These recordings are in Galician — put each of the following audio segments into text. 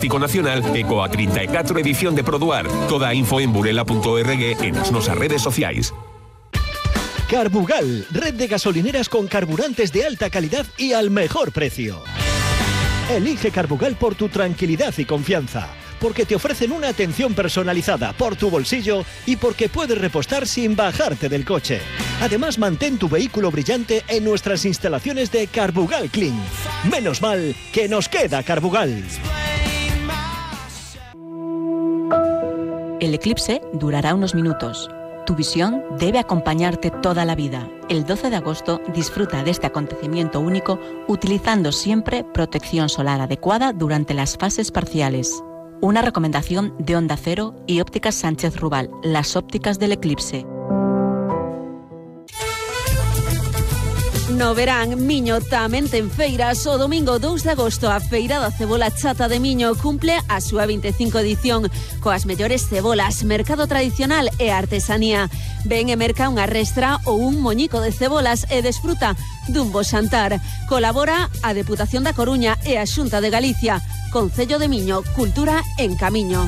Nacional e coa 34 edición de Produar. Toda a info en burela.org e nas nosas redes sociais. Carbugal, red de gasolineras con carburantes de alta calidad y al mejor precio. Elige Carbugal por tu tranquilidad y confianza, porque te ofrecen una atención personalizada por tu bolsillo y porque puedes repostar sin bajarte del coche. Además, mantén tu vehículo brillante en nuestras instalaciones de Carbugal Clean. Menos mal que nos queda Carbugal. El eclipse durará unos minutos. Tu visión debe acompañarte toda la vida. El 12 de agosto disfruta de este acontecimiento único utilizando siempre protección solar adecuada durante las fases parciales. Una recomendación de Onda Cero y Ópticas Sánchez Rubal, las ópticas del eclipse. No verán, Miño tamén ten feiras. O domingo 2 de agosto a Feira da Cebola Chata de Miño cumple a súa 25 edición coas mellores cebolas, mercado tradicional e artesanía. Ven e merca unha restra ou un moñico de cebolas e desfruta dun bo xantar. Colabora a Deputación da Coruña e a Xunta de Galicia. Concello de Miño, cultura en camiño.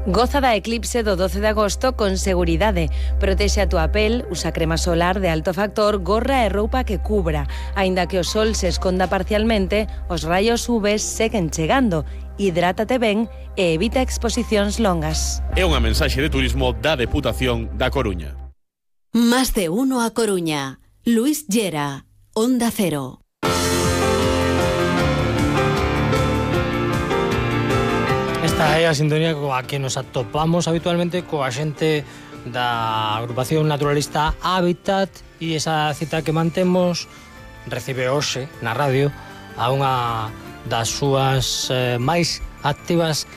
Goza da eclipse do 12 de agosto con seguridade. Protexe a túa pel, usa crema solar de alto factor, gorra e roupa que cubra. Aínda que o sol se esconda parcialmente, os raios UV seguen chegando. Hidrátate ben e evita exposicións longas. É unha mensaxe de turismo da Deputación da Coruña. Más de uno a Coruña. Luis Llera, Onda Cero. Esta é a sintonía coa que nos atopamos habitualmente coa xente da agrupación naturalista Hábitat, e esa cita que mantemos recibe hoxe na radio a unha das súas máis activas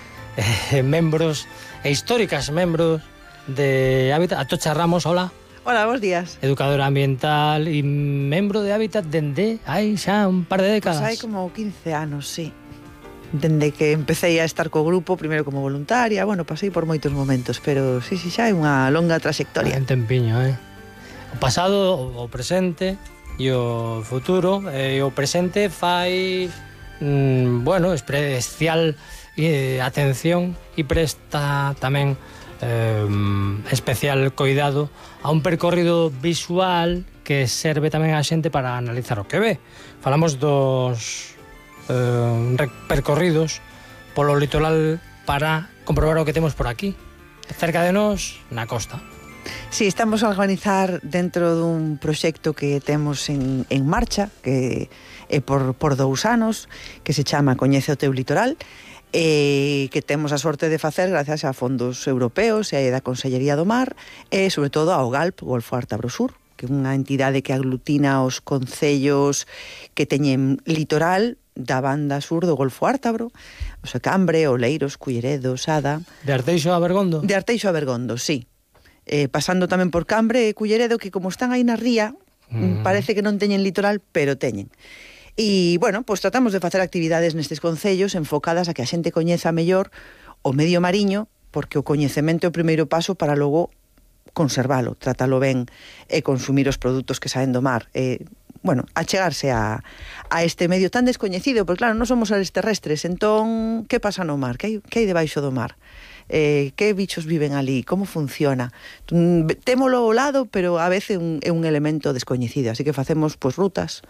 membros e históricas membros de Hábitat. Atocha Ramos, hola. Hola, bons días. Educadora ambiental e membro de Hábitat dende hai xa un par de décadas. Pues hai como 15 anos, sí. Dende que empecé a estar co grupo, primeiro como voluntaria, bueno, pasei por moitos momentos, pero sí, xa é unha longa trayectoria. Un tempiño, O pasado, o presente e o futuro. O presente fai, bueno, especial atención e presta tamén especial coidado a un percorrido visual que serve tamén a xente para analizar o que ve. Falamos dos percorridos polo litoral para comprobar o que temos por aquí, cerca de nós, na costa. Sí, estamos a organizar dentro dun proxecto que temos en marcha, que é por 2 anos, que se chama Coñece o teu litoral, que temos a sorte de facer gracias a fondos europeos e da Consellería do Mar, e sobre todo ao GALP, Golfo Ártabro Sur, que é unha entidade que aglutina os concellos que teñen litoral da banda sur do Golfo Ártabro, o Secambre, Oleiros, Culleredo, Sada. De Arteixo a Bergondo? De Arteixo a Bergondo, sí. Pasando tamén por Cambre e Culleredo, que como están aí na ría, parece que non teñen litoral, pero teñen. E, bueno, pois tratamos de facer actividades nestes concellos enfocadas a que a xente coñeza mellor o medio mariño, porque o coñecemento é o primeiro paso para logo conservalo, tratalo ben e consumir os produtos que saen do mar. Bueno, achegarse a este medio tan descoñecido, porque claro, non somos seres terrestres, entón, que pasa no mar? Que hai debaixo do mar? Que bichos viven ali? Como funciona? Témolo ao lado, pero a veces é un elemento descoñecido, así que facemos pois rutas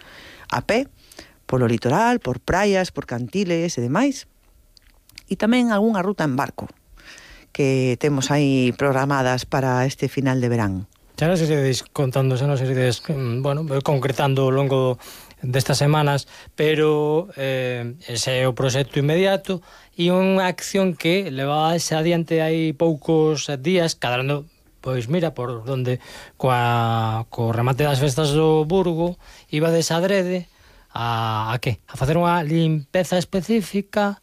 a pé, polo litoral, por praias, por cantiles e demais, e tamén algunha ruta en barco que temos aí programadas para este final de verán. Xa nos iredes contando, xa nos iredes, bueno, concretando ao longo destas semanas, pero ese é o proxecto inmediato e unha acción que levase adiante hai poucos días, cadrando, pois mira, por donde co remate das festas do Burgo ibades adrede a que? A facer unha limpeza específica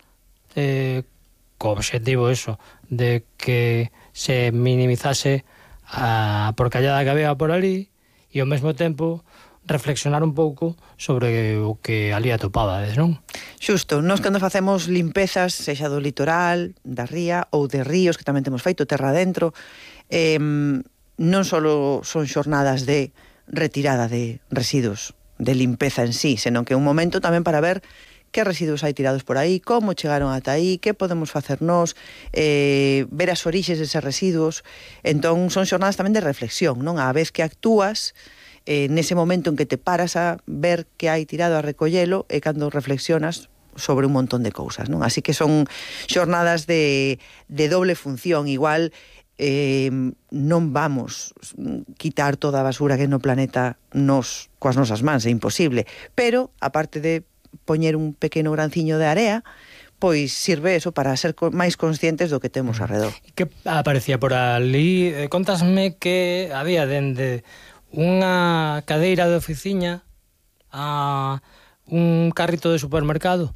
co obxectivo eso, de que se minimizase a porcallada que había por ali e ao mesmo tempo reflexionar un pouco sobre o que ali atopabades, non? Xusto, nós cando facemos limpezas, sexa do litoral, da ría ou de ríos, que tamén temos feito terra adentro, non só son xornadas de retirada de residuos limpeza en sí, senón que é un momento tamén para ver que residuos hai tirados por aí, como chegaron ata aí, que podemos facer nós, ver as orixes deses residuos. Entón son xornadas tamén de reflexión, non? A vez que actúas, nese momento en que te paras a ver que hai tirado a recollelo, e cando reflexionas sobre un montón de cousas, non? Así que son xornadas de doble función. Igual non vamos quitar toda a basura que no planeta nos coas nosas mans, é imposible, pero aparte de poñer un pequeno granciño de area, pois sirve eso para ser máis conscientes do que temos arredor. Que aparecía por ali? Contasme que había dende unha cadeira de oficina a un carrito de supermercado.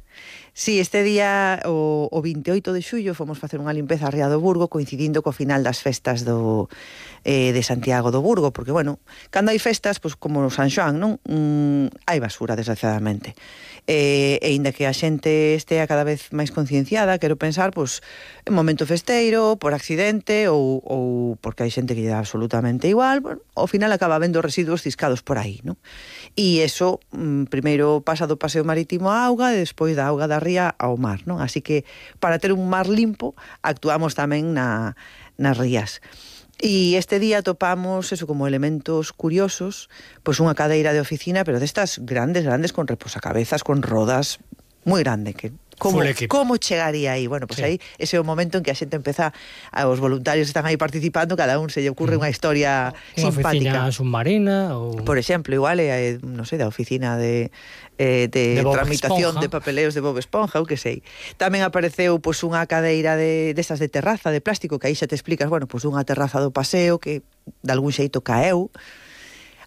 Sí, este día, o 28 de xullo, fomos facer unha limpeza a Ría do Burgo, coincidindo co final das festas de Santiago do Burgo, porque, bueno, cando hai festas, pois, como San Xoán, non? Hai basura, desgraciadamente. E inda que a xente estea cada vez máis concienciada, quero pensar, pois, en momento festeiro, por accidente, ou porque hai xente que lle dá absolutamente igual, bueno, ao final acaba habendo residuos ciscados por aí, non? E eso, primeiro pasa do paseo marítimo á auga, e despois da auga da ría ao mar, non? Así que, para ter un mar limpo, actuamos tamén nas rías. E este día topamos eso como elementos curiosos, pois unha cadeira de oficina, pero destas grandes, con reposacabezas, con rodas, moi grande, que como chegaría aí? Bueno, pois aí ese é o momento en que a xente empeza, os voluntarios están aí participando, cada un se lle ocurre unha historia simpática. Unha oficina submarina ou... Por exemplo, igual non sei, da oficina de tramitación de papeleos de Bob Esponja, ou que sei. Tamén apareceu pois unha cadeira destas de terraza de plástico, que aí xa te explicas, bueno, pois unha terraza do paseo que de algún xeito caeu.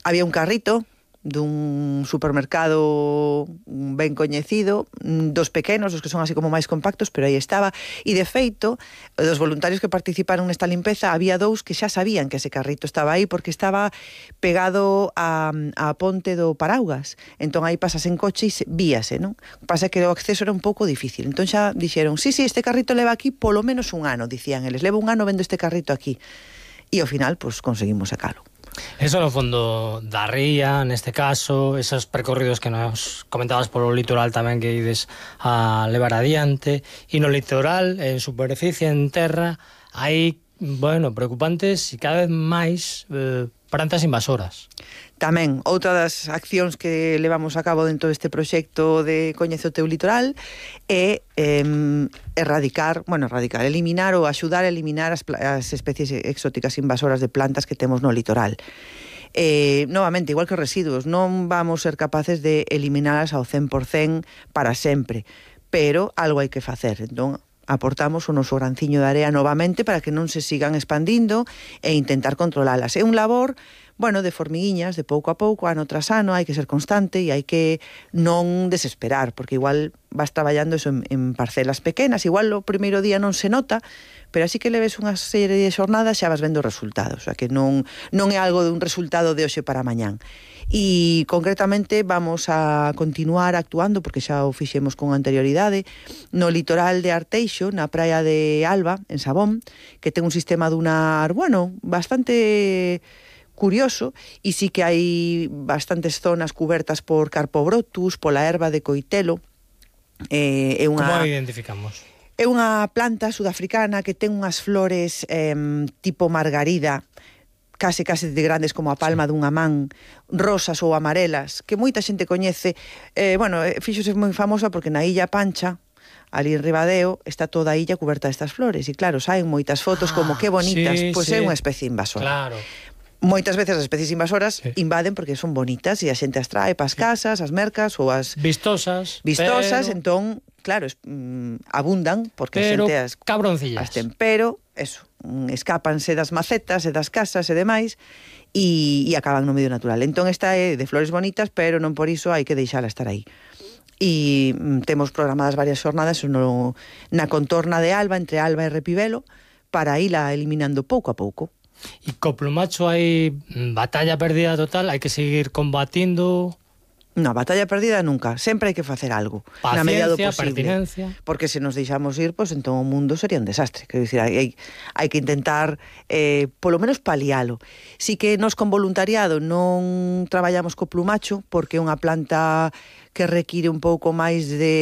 Había un carrito dun supermercado ben coñecido, dos pequenos, os que son así como máis compactos, pero aí estaba, e de feito, dos voluntarios que participaron nesta limpeza, había dous que xa sabían que ese carrito estaba aí, porque estaba pegado a ponte do Paraugas, entón aí pasas en coche e víase, non? Pasa que o acceso era un pouco difícil, entón xa dixeron, sí, este carrito leva aquí polo menos un ano, dicían eles, leva un ano vendo este carrito aquí, e ao final, pois, conseguimos sacalo. Eso no fondo da ría, neste caso, esos percorridos que nos comentabas polo litoral tamén que ides a levar adiante, e no litoral, en superficie, en terra, hai, bueno, preocupantes e cada vez máis plantas invasoras. Tamén, outra das accións que levamos a cabo dentro deste proxecto de Coñece o teu litoral é eliminar ou axudar a eliminar as especies exóticas invasoras de plantas que temos no litoral. Novamente, igual que os residuos, non vamos ser capaces de eliminalas ao 100% para sempre, pero algo hai que facer. Entón, aportamos o noso granciño de area novamente para que non se sigan expandindo e intentar controlalas. É un labor, bueno, de formiguiñas, de pouco a pouco, ano tras ano, hai que ser constante e hai que non desesperar, porque igual vas traballando eso en parcelas pequenas, igual o primeiro día non se nota, pero así que leves unha serie de xornadas xa vas vendo resultados, o sea que non é algo de un resultado de hoxe para mañán. E concretamente vamos a continuar actuando, porque xa o fixemos con anterioridade, no litoral de Arteixo, na praia de Alba, en Sabón, que ten un sistema dunar, bueno, bastante curioso, e sí que hai bastantes zonas cubertas por Carpobrotus, pola erva de coitelo. Como a identificamos? É unha planta sudafricana que ten unhas flores tipo margarida, case de grandes como a palma dunha man, rosas ou amarelas, que moita xente coñece. Fíxose moi famosa porque na Illa Pancha, ali en Ribadeo, está toda a illa cuberta destas flores, e claro, saen moitas fotos como que bonitas, pois é unha especie invasora. Claro. Moitas veces as especies invasoras invaden porque son bonitas e a xente as trae para as casas, as mercas ou as... Vistosas, entón, claro, abundan porque a xente as cabroncillas. Ten, pero, eso, escápanse das macetas e das casas e demais e acaban no medio natural. Entón esta é de flores bonitas, pero non por iso hai que deixala estar aí. E temos programadas varias xornadas na contorna de Alba, entre Alba e Repibelo, para ila eliminando pouco a pouco. E co plumacho hai batalla perdida total, hai que seguir combatindo. Na batalla perdida nunca, sempre hai que facer algo, na medida do Paciencia, posible. pertinencia. Porque se nos deixamos ir, pues entón o mundo sería un desastre. Quero dicir, hai que intentar polo menos palialo. Si que nos con voluntariado non traballamos co plumacho, porque é unha planta que require un pouco máis de